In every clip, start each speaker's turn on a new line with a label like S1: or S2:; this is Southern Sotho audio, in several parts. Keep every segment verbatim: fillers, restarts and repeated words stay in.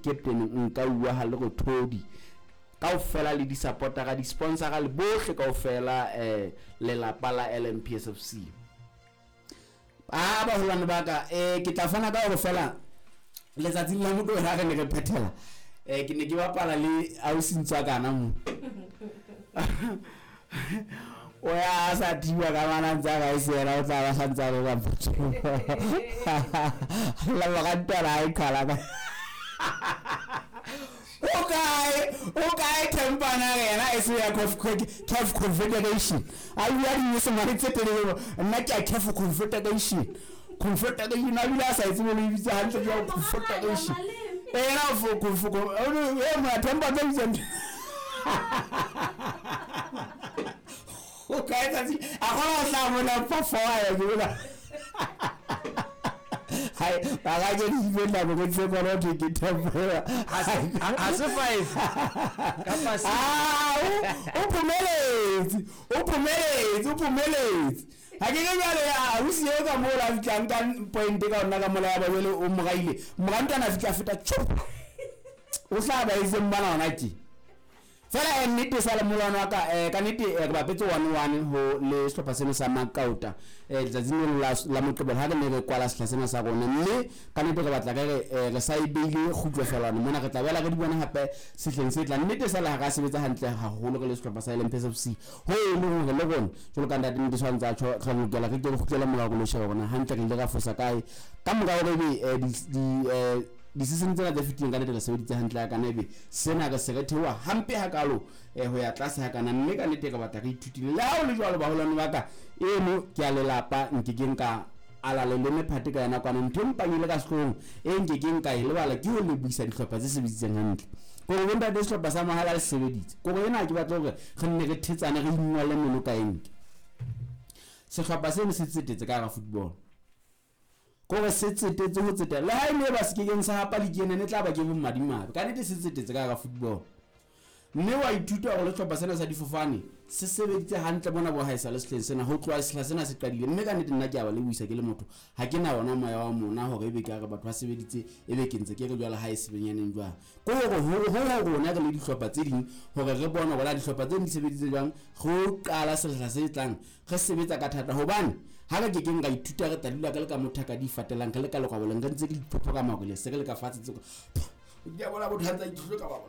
S1: captain Nka ha le go thodi kaofela le di supportera di sponsora le bohle kaofela eh lelapa la L M P S F C. Ah baholwane ba ka eh ke tla fana ka hore fela letsatsing la motho ha re ne re phethela eh ke ne ke bapala le ausi ntswa kana mo o ya sa thiba ka mana ntsa ga isera o tla ba santsa re ba motho la ba ka ntwa ai khala ka o kae o kae tempana yena e se ya C A F Confederation a bua di se tse telele nna ke a C A F Confederation Confederation a bile a sa itsebe le bitsa hantle jwa Confederation ena fo fo e mo tempa tse bitsa o kae tsatsi a gona o tla bona fa fa ya ke bona hai ba ga ke di la go tse bona ke ke tempa
S2: ha se five kapa six.
S1: Ah o phumeletse o phumeletse o phumeletse ha ke ke jwale a o siyo ka mola a fihlang ka point ka ona ka mola ya ba jwale o moraile morantana fihla feta chup o hlaba e seng bana ona ke fela nnete sa le molwana wa ka eh ka nnete re bapetse one one ho le sehlopha sena sa Makauta eh letsatsing la la Moqebelo ha re ne re kwala sehla sena sa rona mme ka nnete re batla re re sa e beile kgutlo fela mona re tla bela re di bona hape sehleng se tlang. Nnete sa le ha ra sebetsa hantle haholo re le sehlopha sa L M P S F C ho e leng hore le rona jwalo ka ntate nnete tshwantse a tjho re lokela re ke re kgutlele morao re lo sheba rona hantle re ile ra fosa kae ka mora hore ebe di di di-season tsena tse fetileng ka nnete re sebeditse hantle ka kana ebe sena re se re theoha hampe hakalo eh ho ya tlase hakana mme ka nnete re batla re ithutile. Le ha o le jwalo baholwane ba ka eno ke a lelapa nke ke nka ala le leme phate ka yena kwana ntho e mpang ile ka sehloohong e nke ke nka e lebala ke ho lebohisa dihlopha tse sebeditseng hantle kore bontate sehlopha sa mahala le sebeditse kore ena ke batla hore re nne re thetsane re ingwalle meno ka enke sehlopha seno se tsetetse ka hara football kore se tsetetse ho tsetela le ha e ne ba se kekeng sa hapa league ene tla ba ke bo madimabe ka nnete se tsetetse ka hara football mme wa ithuta hore le sehlopha sena sa difofane se sebeditse hantle bona bo haesa le sehleng sena ho tloha sehla sena se qadile mme ka nnete nna ke a ba lebohisa ke le motho ha ke na ona moya wa mona hore ebe ke re batho ba sebeditse ebe ke ntse ke re jwale ha e sebenyaneng jwang ko hore ho ho rona re le dihlopha tse ding hore re bone hore la dihlopha tse ding di sebeditse jwang re qala sehla se tlang re sebetsa ka thata hobane ha re ke keng ra ithuta re tla dula ka le ka motho ka di fatelang re le ka lekwaboleng re ntse ke diphopho ka makoleng se re le ka fatshe tse ke a bona botho ha ntse a ithuta ka ba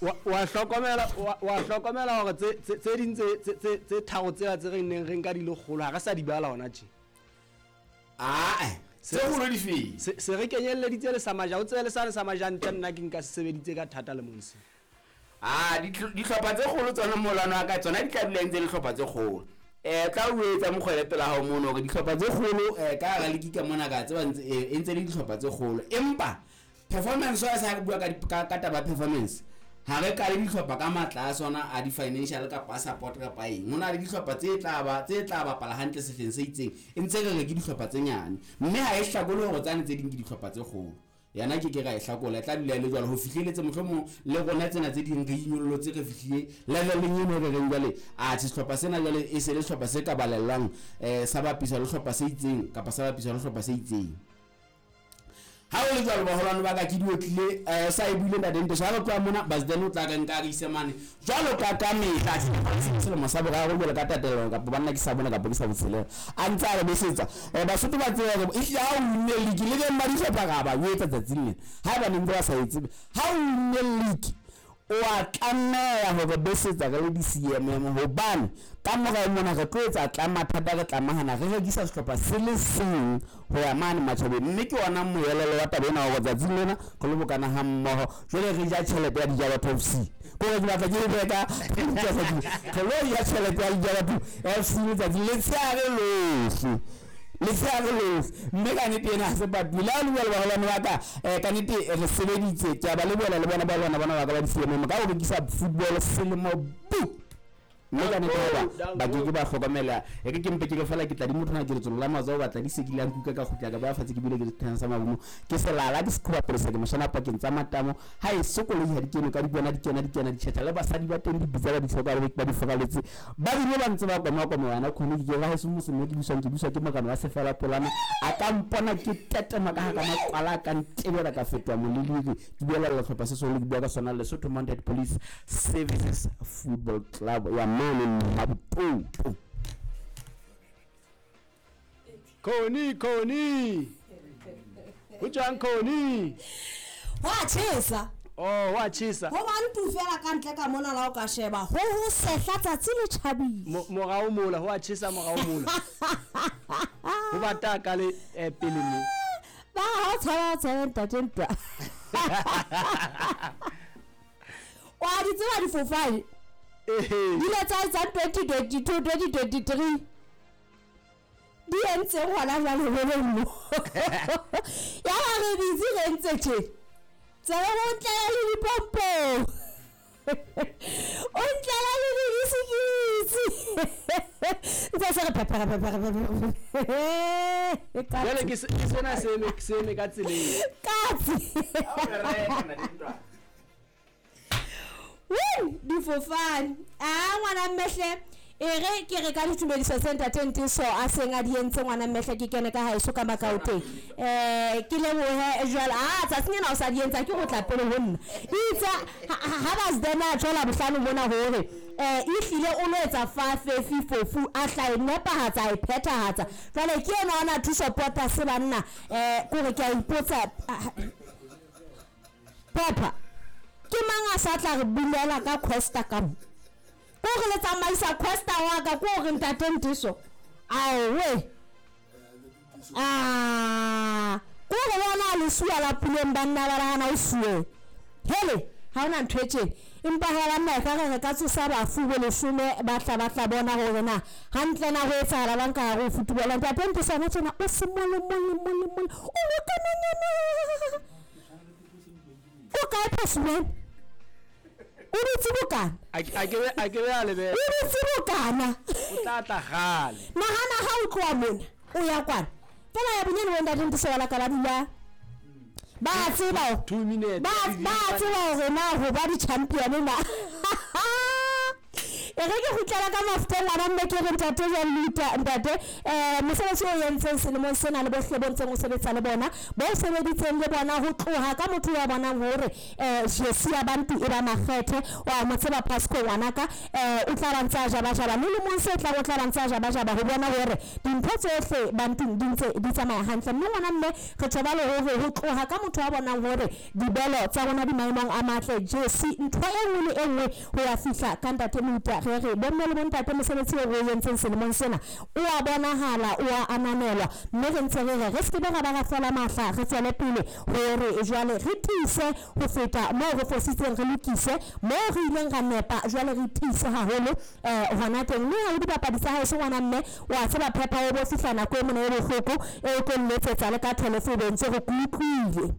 S2: wa hlokomela wa hlokomela hore tse tse ding tse tse tse tharo tsela tse re neng re nka di le kgolo ha re sa di bala hona tje.
S1: Ah tse kgolo di fe
S2: se re kenyelleditse le sa maja o tsebe le sa le sa maja ntle nna ke nka se sebeditse ka thata le monse.
S1: Ah dihlopha tse kgolo tsona molwana wa ka tsona di tla dula ntse le hlopha tse kgolo eh tla o etsa mokgwele pela hao mono hore dihlopha tse kgolo eh ka hara league ka mona ka tseba ntse e ntse le dihlopha tse kgolo empa performance wa sa re bua ka ka taba performance ha re ka le dihlopha ka matla a sona a di financial kapa support kapa eng hona le dihlopha tse tla ba tse tla bapala hantle sehleng se itseng e ntse re re ke dihlopha tse nyane mme ha e hlakole hore tsane tse ding ke dihlopha tse kgolo yana ke ke ra e hlakola e tla dula le jwalo ho fihleletse mohlomong le rona tsena tse ding re inyollotse re fihlile leveleng eno re reng jwale a sehlopha sena jwale e se le sehlopha se ka balellang eh sa bapisa le sehlopha se itseng kapa sa bapisa le sehlopha se itseng. Ha o le jwalo baholwane ba ka ke di otlile eh sa e buile ntate Nteso ha re tloha mona Basden o tla re nka re ise mane jwalo ka ka mehla selemo sa boraro jwalo ka tatelano kapa banna ke sa bona kapa ke sa botshelela a ntse a re besetsa eh Basotho ba tseba hore ehlile ha o winne league le beng ba dihlopha ka ba o etsa tsatsing lena ha eba ne ntse ba sa e tsebe ha o winne league o a tlameha hore besetsa re le di-C M M hobane ka morao mona re tlo etsa tla mathata re tlamahana re rekisa sehlopha se le seng ho ya mane matjhabeng mme ke ona moelelo wa taba ena hore tsatsing lena re lo bokana ha mmoho jwale re ja tjhelete ya Dijaba F C kore ke batla ke e reka re lo ja tjhelete ya Dijaba F C letsatsi letshehare lohle letshehare lohle mme ka nnete ena ha se patuwe le ha le bua le baholwane ba ka eh ka nnete re sebeditse ke a ba lebohela le bona ba lona bona ba ka ba di-C M M ka ho rekisa football selemo bu. Mme ka nnete hoba ba ke ke ba hlokomela e ke ke mpe ke re fela ke tla di motho na ke letsolo la matsoho ba tla di se ke la nkuka ka kgutla ka ba fatshe ke bile ke dithang sa mabomo ke selala ke sekhuba polesa ke moshana pakeng tsa matamo ha e sokoloi ha di kene ka di bona di kena di kena di tjhetjha le basadi ba teng di bitsa ba di hloka le ba di fokaletse ba bile ba ntse ba koma koma wena khone ke ra heso mose mo ke buswang ke buswa ke morena wa sefela polana a ka mpona ke tetema ka ha ka maqwala ka ntebela ka fetoha moleliri ke buela sehlopha se seholo ke bua ka sona Lesotho Mounted Police Services Football Club ya mane Maputo.
S2: Khoni Khoni ho jwang Khoni
S3: wa tjhesa
S2: oh wa tjhesa
S3: ho bantu fela ka ntle ka mona la o ka sheba ho ho sehla tsatsi le tjhabile
S2: morao mola ho a tjhesa morao mola ho bata ka le pele mo
S3: ba ha tshaba tshaba ntate ntwa wa di tseba difofane di le tsa tsa twenty twenty-two twenty twenty-three di entse hona jwale ho mo ya ba re busy re ntse tje tsela go ntlela le dipompo o ntlela le dibisikitsi ntse se re pepera pepera pepera
S2: jwale ke sena se eme se eme ka tseleng
S3: katse woo difofane a ngwana mmehle e re ke re ka ditumediso tse ntate Ntiso a seng a di entse ngwana mmehle ke kene ka haeso ka Makaoteng eh ke lebohe jwale a tsatsing ena o sa di entsa ke go tla pele ho nna itse ha ba zdena tshola bohlano mona hore eh e hlile o lo etsa fa fefi fofu a hla e nepahatsa e phethahatsa jwale ke ena ona thuso pota se banna eh kore ke a ipotsa Papa ke mang a sa tla re bulela ka Costa ka mo ko re le tsamaisa Costa wa ka ko re ntate Ntiso aowe ah ko re bona le suwa la puleng banna ba rana o suwe hele ha ona ntho e tjena empa ha ba nna ka re ka tsosa bafu bo leshome ba tla ba tla bona hore na hantle na ho etsahala bang ka hare ho football ntate Ntiso na tjena o se mole mole mole mole o lokananyana o kae phasuwe o dutse bokana
S2: a ke a ke be a lebe
S3: o dutse bokana
S2: o tla tla gale
S3: nahana ha o tloha mona o ya kwana fela ya bonyane bo ntate Ntiso la ka ba dula ba tseba
S2: two minutes
S3: ba ba tseba hore na ho ba di champion na e re ke kgutlela ka mafuteng ngwana mme ke re ntate Jean-Luc ntate eh mosebetsi o entseng selemong sena le bohle bo ntseng o sebetsa le bona bo sebeditseng le bona ho tloha ka motho ya bonang hore eh Jesse ya Bantu e ba makgethe wa mo tseba Pasco ngwanaka eh o tla ba ntsa jaba jaba le lemong se tla o tla ba ntsa jaba jaba ho bona hore dintho tsohle Bantu di ntse di tsamaya hantle mme ngwana mme re thoba le hore ho tloha ka motho wa bonang hore dibelo tsa rona di maemong a matle Jesse ntho e nngwe le e nngwe ho ya fihla ka ntate Mouta re re bomme le bontate mosebetsi o re entseng selemong sena o a bonahala o a ananelwa mme re ntse re re re se ke ra ba ra fela mahla re tswele pele hore jwale re tiise ho feta moo re fositseng re lokise moo re ileng ra nepa jwale re tiise haholo eh hona teng mme ha o dipapadi tsa hae se ngwana mme wa tseba phepha o bo fihla nako e mona e bohloko e tlo nletsetsa le ka telephone ntse re kutlwile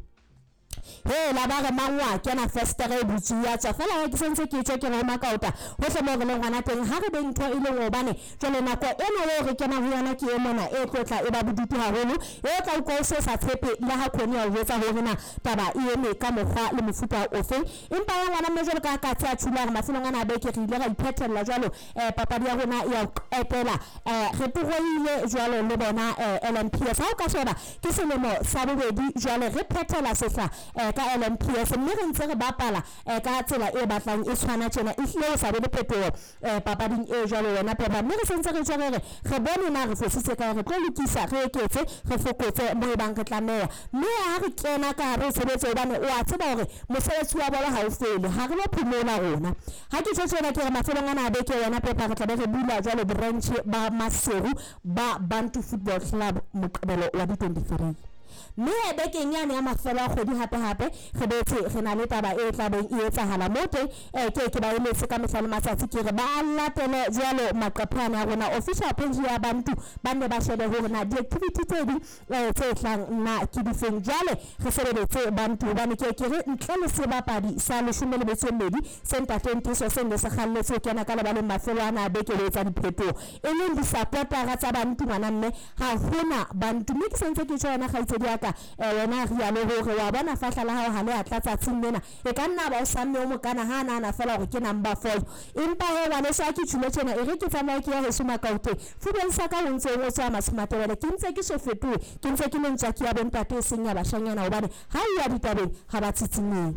S3: he la ba re mangwa kena festere e butse ya tswa fela ha ke sentse ke tswe ke re Makaota hohle mo re leng hona teng ha re be ntho e leng hobane jwale nako ena eo re kena ho yona ke e mona e tlotla e ba bodutu haholo e tla utlwa o se sa tshepe le ha khone ya o jwetsa hore na taba e eme ka mokgwa le mofuta ofe empa ya ngwana mme jwalo ka ka tsa tshula re mafelong ana a beke re ile ra iphethella jwalo eh papadi ya rona ya qetela eh re toroile jwalo le bona L M P S ha o ka sheba ke selemo sa bobedi jwale re phethela sehla ka L M P S mme re ntse re bapala ka tsela e batlang e tshwana tjena e hlile o sa be le phetoho papading e jwalo wena Peppa mme re sentse re tshwere re bone na re fositse kae re tlo lokisa re eketse re fokotse mo e bang re tlameha mme ha re kena ka hare ho tshebetso hobane o a tseba hore mosebetsi wa bolo ha o fele ha re lo phomola rona ha ke tjho tjena ke re mafelong ana a beke wena Peppa re tla be re bula jwalo branch ba Maseru ba Bantu Football Club Moqebelo wa di twenty-three Mme he bekeng yane ya mafelo a kgwedi hape hape re boetse re na le taba e tlabeng e etsahala mo teng. eh, ke ke ba eletse ka mehla le matsatsi, ke re ba latele jwalo maqephe ana a rona official page ya Bantu, ba nne ba shebe hore na di-activity tse ding eh, tse tlang na ke difeng. Jwale re sebeletse Bantu hobane ke ke re ntle le sebapadi sa leshome le metso e mmedi se ntateng Tiso se ne se kgalletse ho kena ka lebaleng mafelo ana a beke le etsa diphetoho, e leng di-supportera tsa Bantu ngwana mme ha hona Bantu. Mme ke sentse ke tjho wena kgaitsedi ya ka, eh, wena rialo hore wa bona fahla la hao ha le a tlatsa tsatsing lena, e ka nna ba o samme o mokana ha nahana fela hore ke number four. Empa he ngwaneso ha ke tjhule tjena, e re ke tsamaye ke ya heso Makauteng fubeng sa ka ho ntse o tswa Matshomatebele, ke ntse ke so fetohe, ke ntse ke le ntswaki ya bontate e seng ya bashanyana, hobane ha e ya ditabeng ha ba tsitsinyehe.